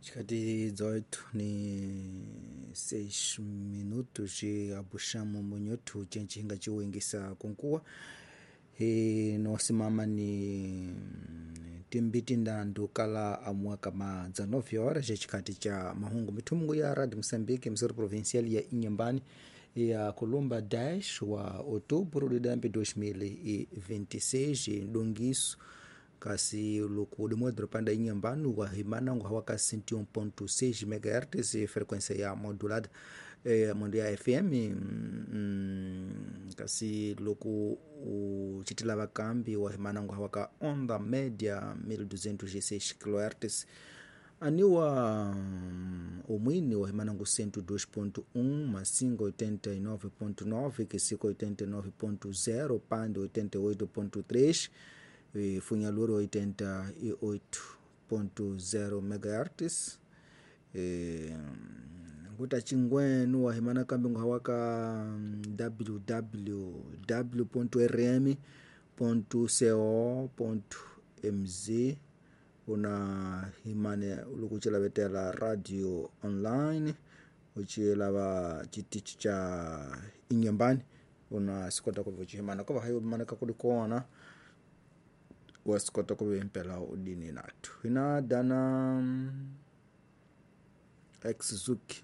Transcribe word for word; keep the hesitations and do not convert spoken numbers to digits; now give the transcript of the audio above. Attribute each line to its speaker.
Speaker 1: Chikati dezoito ni seis minutos e abuxamo munhoto chenchihinga chiwengisa kunkuwa e nosimama ni timbiti ndandu kala amua kama dezenove horas chikati cha mahungu mithungu ya Rádio Moçambique emissora provincial ya Inhambane ya Colomba dez wa outubro de dois mil e vinte e seis donguiço kasi luku dimodro panda Inhambane wa himana ngu hawaka cento e um ponto seis megahertz frequência ya modulada eh, mondo ya F M mm, kasi luku uchitila vakambi wa himana ngu hawaka onda média mil duzentos e seis kilohertz aniwa um, umwini wa himana ngu cento e dois ponto um Massinga oitenta e nove ponto nove Quisico oitenta e nove ponto zero Pande oitenta e oito ponto três e Funhaluro oitenta e oito ponto zero megahertz e, nguta chingwenu wa himana kambi ngu hawaka w w w ponto r m ponto co ponto m z una himane lukuchela vetela radio online uchilava chitichi cha Inhambane una sikota kuva chihimana kova hayo mana kakuli kuona wasikota kuva impela udini natu ina dana ex-Zuki.